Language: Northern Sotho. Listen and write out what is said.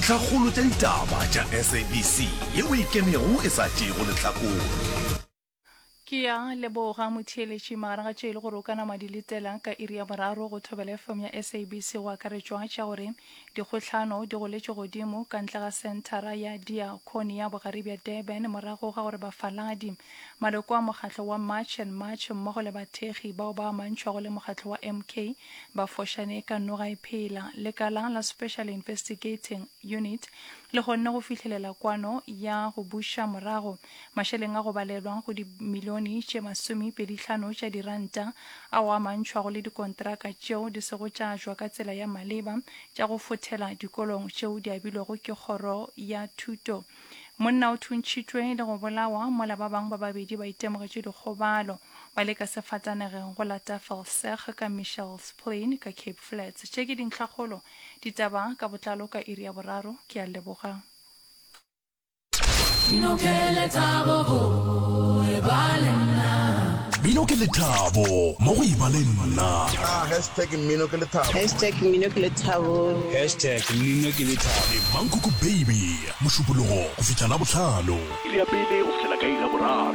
Dintlhakgolo tša ditaba tša SABC yeo e ikemego e sa tšeego lehlakore. Ke ya leboga motheeletši magareng ga tše e le gore o ka nama di letela ka iri ya boraro go Thobela FM ya SABC go akaretšwa tša gore dikgohlano di goletše godimo ka ntle ga senthara ya Diakonia bogare bja Durban morago ga gore bafaladi, maloko a mokgatlo wa March and March mmogo le bathekgi bao ba amantšhwago le mokgatlo wa MK ba fošane ka noga e phela. Lekala la Special Investigating Unit le kgonne go fihlelela kwano ya go buša morago mašeleng a go balelwa go dimilione tše masomepedihlano tša diranta ao a amantšhwago le dikontraka tšeo di sego tša ajwa ka tsela ya maleba tša go fothela dikolong tšeo di abilwego ke Kgoro ya Thuto. Monna o thuntšhitšwe le go bolawa mola ba bangwe ba babedi ba itemogetše dikgobalo ba le ka sefatanegeng go la Tafelsig ka Mitchells Plain ka Cape Flats. Tše ke dintlhakgolo ditaba ka botlalo ka iri ya boraro. Ke a leboga. Mmino ke lethabo go e ba le nna. Mmino ke lethabo mo go e ba le nna. Ah, hashtag mmino ke lethabo. Hashtag mmino ke lethabo. Hashtag mmino ke lethabo. Le Mankoko Baby, Mošupologo go fihla Labohlano. Iri ya pele go fihlela ka iri ya boraro.